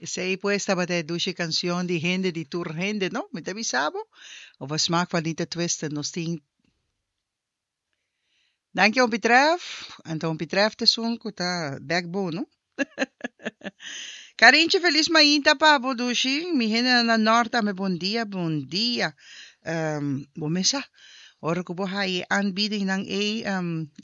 Esei pues tabata e dushi cancion di Hende di Tur Hende, no? Mi ta bisa bo. Over Smaak van Nita Twister nos tin. Danki Opi Tref. Anto Opi Tref ta esun cu ta backbone, no? Carinchi feliz mainta pa bo dushi. Mi hendenan na Nort tambe bon dia, bon dia. Bo mesa ora cu bo haye aanbiedingnan ey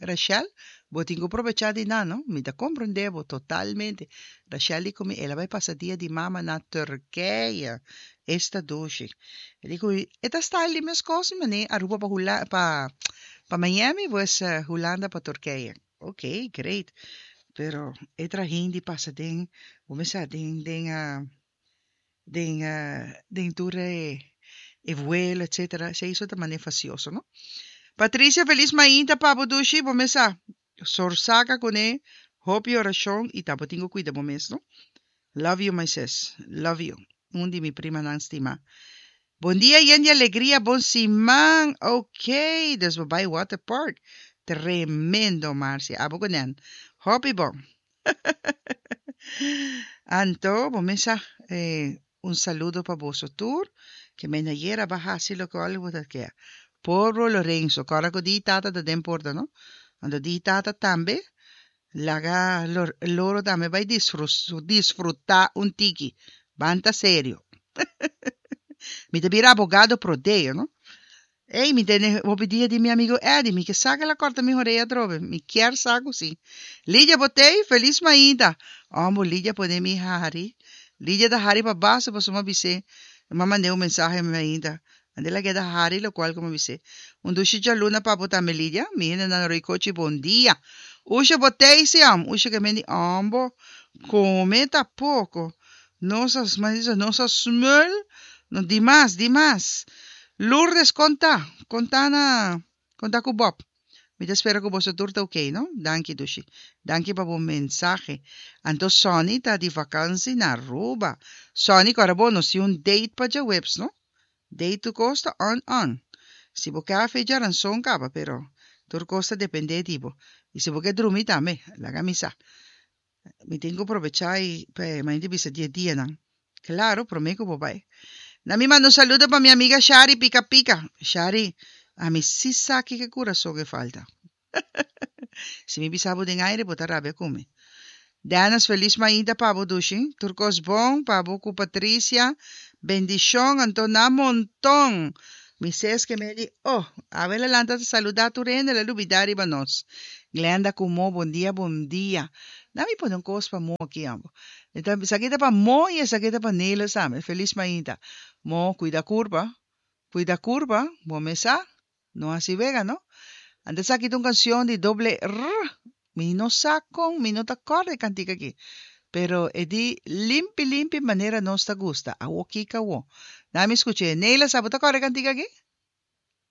Rachel, bo tin cu probecha di nan, no? Mi ta comprende bo totalmente. Rachel di cu mi el a bay pasa dia di mama na Turkije. Esta dushi. E di cu mi e ta style di mescos mane Aruba pa Hula pa pa Miami pues Hulanda pa Turkije. Ok, great. Pero e trahin di pasa den, bo mester sa den den den den tur e e vuelo etcetera, esei so ta mane fasioso no. Patricia feliz mainta pa bo dushi, bo mes sa sorsaka kuné hopi orashon i ta bo tin ku kuida bo mes no. Love you my sis, love you, un di mi primanan stima. Bon dia yen di alegria bon siman ok dus bo bai water park tremendo Marcia abo ku Nen hopi bon anto bo mesa un saludo pa boso tur ke men ayer a ba hasi loke bo ta kea Poro Lorenzo kòrda ku di tata ta den porta no anto di tata tambe laga loro tambe bai disfruta un tiki ban ta serio mi ta bira abogado pro deo no ey mi tene hopi dia di mi amigo Eddie mi ke sa ke la corta mi horea atrobe mi kier sa ku si Lidia bo tey feliz mainta ombo Lidia pone mi hari Lidia ta hari pa baso pasobra mi a bis'é mi a mand'é un mensahe mainta Ande la keda hari locual cu mi bis'é. Un dushi djaluna pa bo tambe Lidia. Mi hende nan roi cochi bon dia. Usha bo tei si am. Usha ke men di ambo come ta poco. Nos a nos a smul no dimas dimas. Lourdes con ta? Con ta na con ta cu Bob? Mi ta spera cu boso tur ta ok no. Danki dushi. Danki pa bo mensahe. Anto Sonny ta di vakansi na Aruba. Sonny cu ora bo nos tin un date pa djaweps no. Dei tur kos ta on on. Si bo ke hafe djaranson kaba pero tur kos ta depende di bo. I si bo ke drumi tambe, laga mi sa. Mi tin ku probecha i pa e mainti bisa di e dianan. Klaro, prome ku bo bai. Na mi manda un saludo pa mi amiga Shari Pika Pika. Shari, ami si sa kiko kurason e falta. Si mi bisa bo den aire bo ta rabia ku mi. Dennis felis mainta pa bo dushi. Tur kos bon pa bo ku Patricia. Bendishon anto na monton. Mi ses ke me di oh awe la lanta ta saluda tur hende la lubida riba nos. Glenda ku Mo bon dia bon dia. Na mi pone un kos pa Mo aki ambo. Esaki ta pa Mo i esaki ta pa Nelis tambe. Felis mainta. Mo kuida kurpa. Kuida kurpa bo mes sa. No hasi wega no. Anto esaki ta un cancion di doble r. Mi no sa con, mi no ta corda e cantica aki. Pero e di limpi limpi manera nos ta gusta. Awo kiko awo. Na mi scuche. Neila sa bo ta corda e cantica aki?